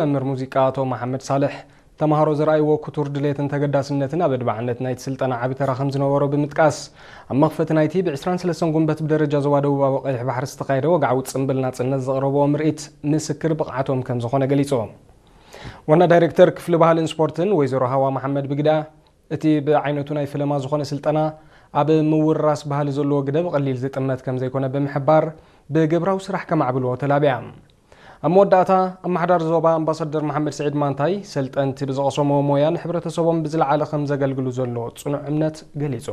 መምህር ሙዚቃ ኣቶ መሓመድ ሳልሕ፣ ተምሃሮ ዘርኣይዎ ክቱር ድሌትን ተገዳስነትን ኣብ ኣድማዕነት ናይቲ ስልጠና ዓቢ ተራ ከም ዝነበሮ ብምጥቃስ፣ ኣብ መኽፈቲ ናይቲ ብ ዕስራን ሰለስተን ጉንበት ብደረጃ ዞባ ደቡባዊ ቀይሕ ባሕሪ ዝተኻየደ ወግዓዊ ጽምብል ናጽነት ዘቕረብዎ ምርኢት ምስክር ብቕዓቶም ከም ዝኾነ ገሊጹ። ዋና ዳይሬክተር ክፍሊ ባህልን ስፖርትን ወይዘሮ ሃዋ መሓመድ ብግዳ፣ እቲ ብዓይነቱ ናይ ፈለማ ዝኾነ ስልጠና ኣብ ምውርራስ ባህሊ ዘለዎ ግደ ብቐሊል ዝጥመት ከም ዘይኮነ ብምሕባር፣ ብግብራዊ ስራሕ ከማዕብልዎ ተላብያ። ኣብ መወዳእታ፣ ኣመሓዳሪ ዞባ ኣምባሳደር መሓመድ ስዒድ ማንታይ፣ ሰልጠንቲ ብዝቐሰምዎ ሞያ ንሕብረተሰቦም ብዝለዓለ ከም ዘገልግሉ ዘሎ ጽኑዕ እምነት ገሊጹ።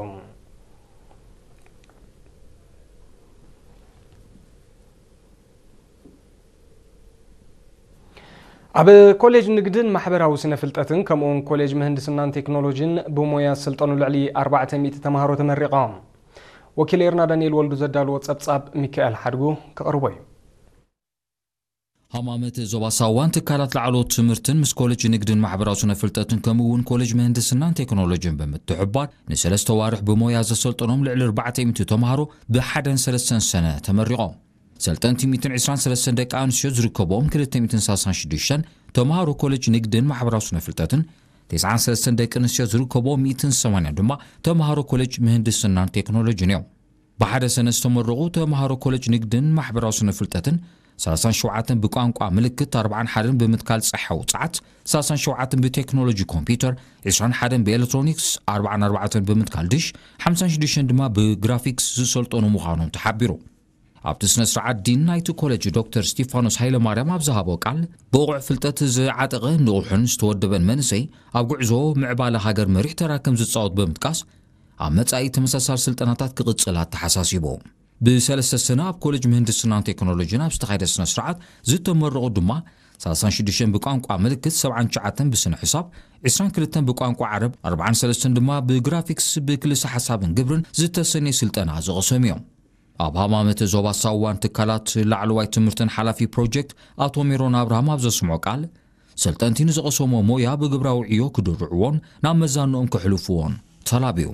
ኣብ ኮሌጅ ንግድን ማሕበራዊ ስነ ፍልጠትን ከምኡውን ኮሌጅ ምህንድስናን ቴክኖሎጂን ብሞያ ዝሰልጠኑ ልዕሊ ኣርባዕተ ሚእቲ ተምሃሮ ተመሪቖም። ወኪል ኤርና ዳንኤል ወልዱ ዘዳልዎ ጸብጻብ ሚካኤል ሓድጉ ከቕርቦ እዩ። ሃማመት ዞባ ሳዋን ትካላት ላዕለዎት ትምህርትን ምስ ኮሌጅ ንግድን ማሕበራዊ ስነ ፍልጠትን ከምኡ እውን ኮሌጅ ምህንድስናን ቴክኖሎጂን ብምትሕባር ንሰለስተ ዋርሕ ብሞያ ዘሰልጠኖም ልዕሊ ኣርባዕተ ሚእቲ ተምሃሮ ብሓደን ሰለስተን ሰነ ተመሪቖም። ሰልጠንቲ ሚእትን ዕስራን ሰለስተን ደቂ ኣንስትዮ ዝርከብዎም ክልተ ሚእትን ሰላሳን ሽዱሽተን ተምሃሮ ኮሌጅ ንግድን ማሕበራዊ ስነ ፍልጠትን፣ ተስዓን ሰለስተን ደቂ ኣንስትዮ ዝርከብዎም ሚእትን ሰማንያን ድማ ተምሃሮ ኮሌጅ ምህንድስናን ቴክኖሎጂን እዮም። ብሓደ ሰነ ዝተመረቑ ተምሃሮ ኮሌጅ ንግድን ማሕበራዊ ስነ ፍልጠትን፣ ሰላሳን ሸውዓተን ብቋንቋ ምልክት፣ ኣርባዓን ሓደን ብምትካል ጸሓ ውጽዓት፣ ሰላሳን ሸውዓተን ብቴክኖሎጂ ኮምፒውተር፣ ዕስራን ሓደን ብኤሌክትሮኒክስ፣ ኣርባዓን ኣርባዕተን ብምትካል ድሽ፣ ሓምሳን ሽዱሽተን ድማ ብግራፊክስ ዝሰልጠኑ ምዃኖም ተሓቢሩ። ኣብቲ ስነ ስርዓት ዲን ናይቲ ኮሌጅ ዶክተር ስቲፋኖስ ሃይለማርያም ኣብ ዝሃቦ ቃል፣ ብቑዕ ፍልጠት ዝዓጠቐ ንቑሕን ዝተወደበን መንእሰይ ኣብ ጉዕዞ ምዕባለ ሃገር መሪሕ ተራ ከም ዝጻወት ብምጥቃስ፣ ኣብ መጻኢ ተመሳሳሊ ስልጠናታት ክቕጽል ኣተሓሳሲቡ። ብሰለስተ ሰነ ኣብ ኮሌጅ ምህንድስናን ቴክኖሎጂን ኣብ ዝተኻየደ ስነ ስርዓት ዝተመረቑ ድማ ሰላሳን ሽዱሽተን ብቋንቋ ምልክት፣ ሰብዓን ትሽዓተን ብስነ ሕሳብ፣ ዕስራን ክልተን ብቋንቋ ዓረብ፣ ኣርባዓን ሰለስተን ድማ ብግራፊክስ ብክልሰ ሓሳብን ግብርን ዝተሰነየ ስልጠና ዝቐሰሙ እዮም። ኣብ ሃማመተ ዞባ ሳዋን ትካላት ላዕለዋይ ትምህርትን ሓላፊ ፕሮጀክት ኣቶ ሜሮን ኣብርሃም ኣብ ዘስምዖ ቃል፣ ሰልጠንቲ ንዝቐሰሞ ሞያ ብግብራዊ ዕዮ ክድርዕዎን ናብ መዛንኦም ክሕልፍዎን ተላብዩ።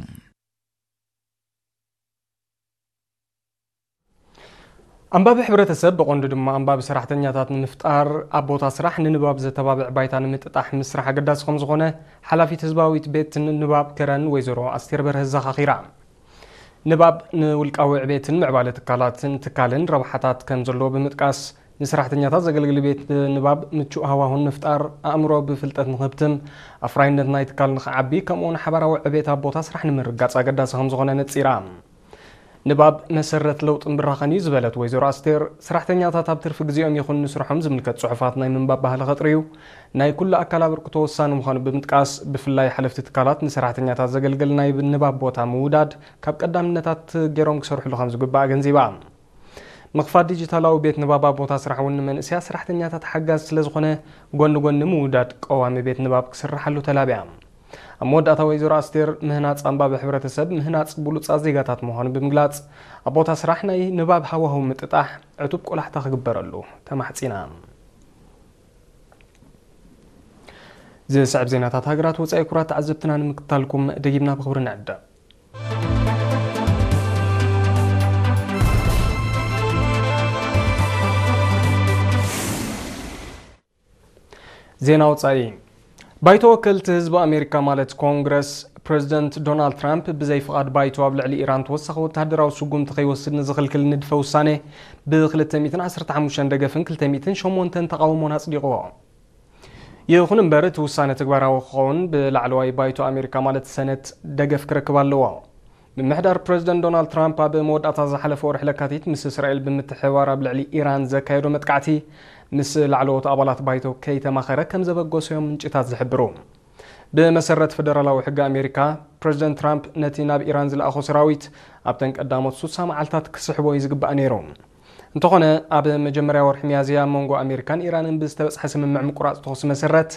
ኣንባቢ ሕብረተሰብ ብቐንዱ ድማ ኣንባቢ ሰራሕተኛታት ንምፍጣር ኣብ ቦታ ስራሕ ንንባብ ዘተባብዕ ባይታ ንምጥጣሕ ምስራሕ ኣገዳሲ ከም ዝኾነ ሓላፊት ህዝባዊት ቤት ንባብ ከረን ወይዘሮ ኣስቴር በርሀ ኣዘኻኺራ። ንባብ ንውልቃዊ ዕቤትን ምዕባለ ትካላትን ትካልን ረብሓታት ከም ዘለዎ ብምጥቃስ፣ ንሰራሕተኛታት ዘገልግል ቤት ንባብ ምቹእ ሃዋሁን ምፍጣር፣ ኣእምሮ ብፍልጠት ንኽህብትም፣ ኣፍራይነት ናይ ትካል ንኽዓቢ፣ ከምኡውን ሓባራዊ ዕቤት ኣብ ቦታ ስራሕ ንምርጋጽ ኣገዳሲ ከም ዝኾነ ነጺራ። ንባብ መሰረት ለውጥን ብራኸን እዩ ዝበለት ወይዘሮ ኣስቴር፣ ሰራሕተኛታት ኣብ ትርፊ ግዜኦም ይኹን ንስርሖም ዝምልከት ጽሑፋት ናይ ምንባብ ባህሊ ከጥርዩ ናይ ኩሉ ኣካል ኣበርክቶ ወሳኒ ምዃኑ ብምጥቃስ፣ ብፍላይ ሓለፍቲ ትካላት ንሰራሕተኛታት ዘገልግል ናይ ንባብ ቦታ ምውዳድ ካብ ቀዳምነታት ገይሮም ክሰርሕሉ ከም ዝግባእ ኣገንዚባ። ምኽፋት ዲጂታላዊ ቤት ንባብ ኣብ ቦታ ስራሕ እውን ንመንእሰያት ሰራሕተኛታት ሓጋዚ ስለ ዝኾነ፣ ጎኒ ጎኒ ምውዳድ ቀዋሚ ቤት ንባብ ክስርሓሉ ተላብያ። ኣብ መወዳእታ ወይዘሮ ኣስቴር፣ ምህናጽ ኣንባቢ ሕብረተሰብ ምህናጽ ብሉጻት ዜጋታት ምዃኑ ብምግላጽ፣ ኣብ ቦታ ስራሕ ናይ ንባብ ሃዋህው ምጥጣሕ ዕቱብ ቆላሕታ ክግበረሉ ተማሕጺና። ዝስዕብ ዜናታት ሃገራት ወጻኢ ክቡራት ተዓዘብትና ንምክታልኩም ደጊምና ብኽብሪ ንዕደም። ዜና ወጻኢ። ባይቶ ወከልቲ ህዝቢ ኣሜሪካ ማለት ኮንግረስ፣ ፕሬዚደንት ዶናልድ ትራምፕ ብዘይ ፍቓድ ባይቶ ኣብ ልዕሊ ኢራን ተወሳኺ ወተሃደራዊ ስጉምቲ ከይወስድ ንዝኽልክል ንድፈ ውሳኔ ብ ክልተ ሚእትን ዓሰርተ ሓሙሽተን ደገፍን ክልተ ሚእትን ሸሞንተን ተቓውሞን ኣጽዲቕዎ። ይኹን እምበር፣ እቲ ውሳነ ተግባራዊ ክኸውን ብላዕለዋይ ባይቶ ኣሜሪካ ማለት ሰነት ደገፍ ክረክብ ኣለዎ። ምምሕዳር ፕሬዚደንት ዶናልድ ትራምፕ ኣብ መወዳእታ ዝሓለፈ ወርሒ ለካቲት ምስ እስራኤል ብምትሕብባር ኣብ ልዕሊ ኢራን ዘካየዶ መጥቃዕቲ ምስ ላዕለዎት ኣባላት ባይቶ ከይተማኸረ ከም ዘበገሶ እዮም ምንጭታት ዝሕብሩ። ብመሰረት ፈደራላዊ ሕጊ ኣሜሪካ፣ ፕሬዚደንት ትራምፕ ነቲ ናብ ኢራን ዝለኣኾ ሰራዊት ኣብተን ቀዳሞት ሱሳ መዓልታት ክስሕቦ እዩ ዝግባእ ነይሩ። እንተኾነ፣ ኣብ መጀመርያ ወርሒ ሚያዝያ ኣብ መንጎ ኣሜሪካን ኢራንን ብዝተበጽሐ ስምምዕ ምቁራጽ ተኹሲ መሰረት፣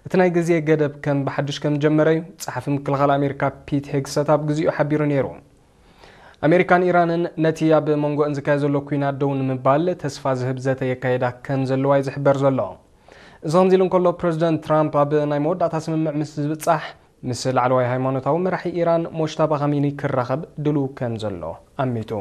እቲ ናይ ግዜ ገደብ ከም ብሓድሽ ከም ዝጀመረ እዩ ጸሓፊ ምክልኻል ኣሜሪካ ፒት ሄግሰት ኣብ ግዜኡ ሓቢሩ ነይሩ። ኣሜሪካን ኢራንን ነቲ ኣብ መንጎአን ዝካየድ ዘሎ ኲናት ደው ንምባል ተስፋ ዝህብ ዘተ የካየዳ ከም ዘለዋ እዩ ዝሕበር ዘሎ። እዚ ከምዚ ኢሉ እንከሎ፣ ፕረዚደንት ትራምፕ ኣብ ናይ መወዳእታ ስምምዕ ምስ ዝብጻሕ፣ ምስ ላዕለዋይ ሃይማኖታዊ መራሒ ኢራን ሞጅታባ ኻሚኒ ክራኸብ ድሉው ከም ዘሎ ኣሚቱ።